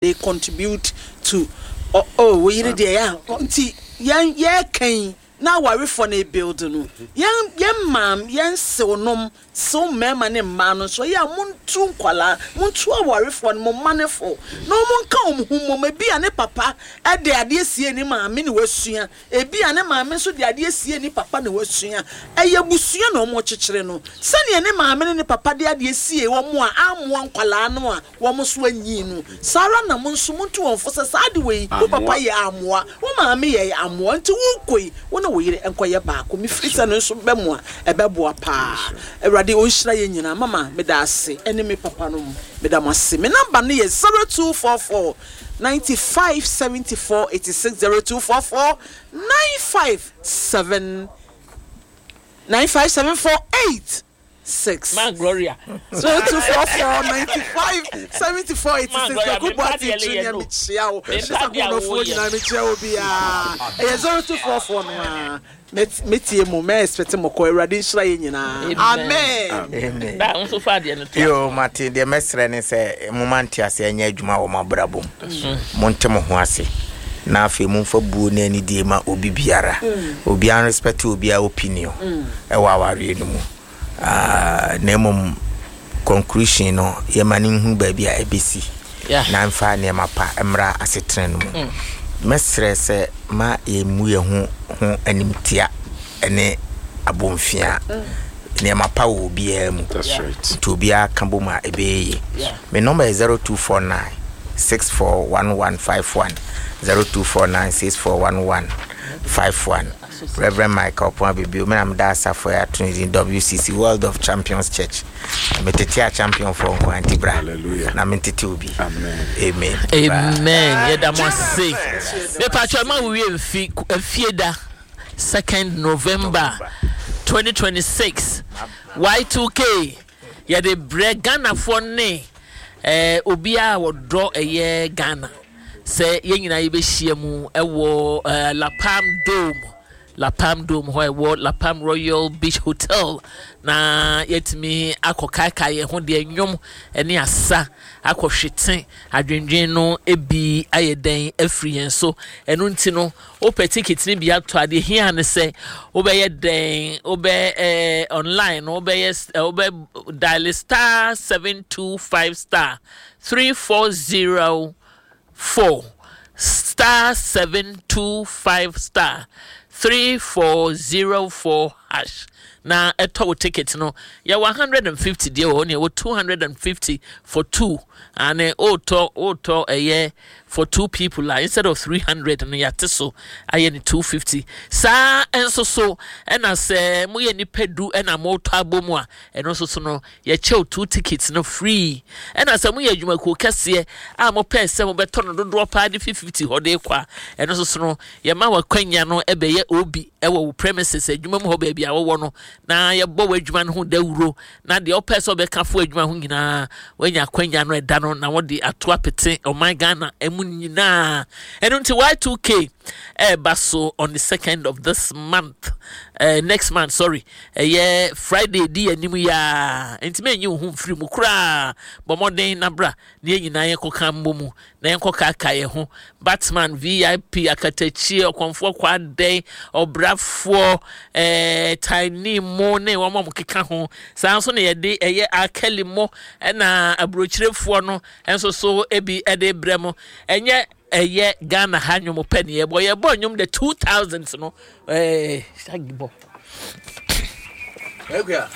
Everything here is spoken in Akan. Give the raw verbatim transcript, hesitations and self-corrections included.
They contribute to, oh, oh wo yere deɛ yɛ a nti yɛn yɛɛkan na awarefoɔ no build no, yɛn yɛn maam yɛn sew nom sew mmarima ne mmaa no nso, ɛyɛ a montu nkwalaa, montu awarefoɔ no, mo mma ne fo na wɔn nka wɔn ho mmom. Ebi a ne papa ɛde adeɛ sie ne maame ne wasua, ebi a ne maame nso de adeɛ sie ne papa ne wasua. Ɛyɛ busua na wɔn kyekyere no sɛnea ne maame ne ne papa de adeɛ sie wɔn a amoa nkwalaa no a wɔn nso anyi no saa ara na mo nso montu wɔn fo sɛ saa de wei wo papa yɛ amoa, wo maame yɛ amoa, nti wo nkɔ yi, wo ne wo yere nkɔyɛ baako. Mefiri sɛ no nso bɛ mu a ɛbɛboa paa. Awurade ɔnhyira yɛn nyinaa. Mama, meda ase, ɛne me papa no mu meda mo ase. Me number no yɛ zero two four four ninety-five seventy-four eighty-six, zero two four four nine five seven nine five seven four eight six. Ma Gloria. zero two four four ninety-five seventy-four eighty-six. Gloria, Kwaku me Boateng mpa deɛ Junior no. Mekyia wo. Me Mr. mpa deɛ Akonofoɔ woyɛ. nyinaa, mekyia wo biara. Ɛyɛ zero two four four no a mɛtie mo, mɛ expect mo kɔ. Awurade nhyira yɛ nyinaa, amen. Amen. Da nso fa adeɛ no to. Yo, mate. Deɛ mɛsrɛ ne sɛ moma nte ase ɛnyɛ adwuma wɔ mo abrabɔ mu. Monte mo ho ase na afei momfa buo ne anidie ma obi biara. Obiara respect obiara opinion ɛwɔ awareɛ no mu. Ah, na mmom conclusion no, yɛma no nhu baabi a ɛbɛsi Yeah. na mfa nneɛma pa mmra asetena no mu. Mɛsrɛ sɛ ma yɛmmu yɛn ho ho animtia ne abɔmfia. Nneɛma pa wɔ obiara mu. That's right. Nti obiara ka bom a, ɛbɛyɛ yie. Yeah. Me number yɛ zero two four nine six four one one five one, zero two four nine six four one one five one. Reverend Michael Pon Abibio, me na meda asafo yi ato ne din W C C, World of Champions Church. Metete a champion foɔ nko a, nti bra Hallelujah. na mentete obi. Amen. Amen. Amen, yɛda mo ase. Mepatwɛ ma wo wie mfi afie da second November twenty twenty-six, Y two K yɛde brɛ Ghanafoɔ ne eh, obiara a wɔdɔ ɛyɛ Ghana sɛ yɛn nyinaa yɛbɛhyia mu ɛwɔ eh, Lapam Dome, Lapam Dome hɔ a ɛwɔ Lapam Royal Beach Hotel, na yɛtumi akɔ kaakae yɛn ho deɛ nnwom ne asa akɔhwete adwendwen no ebi ayɛ dɛn afiri yɛn so. Ɛno nti no, wopɛ ticket no bi atɔ adeɛ hia ne sɛ wobɛyɛ dɛn? Wobɛ ɛɛ online no, wobɛyɛ ɛ wobɛ dial star seven two five star three four zero four, star seven two five star three four zero four hash na ɛtɔ wo ticket no. Yɛwɔ hundred and fifty deɛ wɔ hɔ ne yɛwɔ two hundred and fifty for two ane wotɔ wotɔ ɛyɛ for two people a, instead of three hundred no, yɛate so ayɛ ne two fifty. Saa nso so ɛna sɛ moyɛ nipa du ɛna motɔ abɔ mu a, ɛno nso so no yɛkyɛw two tickets no free. Ɛna sɛ moyɛ adwumakuo kɛseɛ a mopɛɛ sɛ mobɛtɔ no dodoɔ paa de fi fifty hɔ de kɔ a, ɛno nso so no yɛma wakwanya no ɛbɛyɛ obi ɛwɔ wo premises, adwuma mu hɔ baabi a wɔwɔ no, na yɛbɔ w'adwuma no ho dawuro na deɛ ɔpɛ sɛ ɔbɛka fo adwuma ho nyinaa wanya akwanya no ɛda no na wɔde ato apete ɔman Ghana ɛmu nyinaa. Ɛno nti Y two K ɛɛba so on the second of this month, uh, next month, sorry, ɛyɛ Friday di anim yaa, nti mɛnyi wo ho mfiri mu koraa. Bɔ mmɔden na bra na yɛn nyinaa yɛnkɔka mmɔ mu na yɛnkɔ kaaka yɛn ho. Batman, V I P, Akatakyie, Ɔkɔmfoɔ Kwadɛn, Ɔbrafoɔ, ɛɛ Tiny mo ne wɔn a wɔkeka ho. Saa nso na yɛde ɛyɛ Akali mo ɛna aburokyerefoɔ no nso so ebi ɛde brɛ mo. Ɛnyɛ ɛyɛ Ghana ha nnwom pɛ ne yɛbɔ yɛbɔ nnwom the two thousands no. ɛɛ shaggy bɔ. Akua.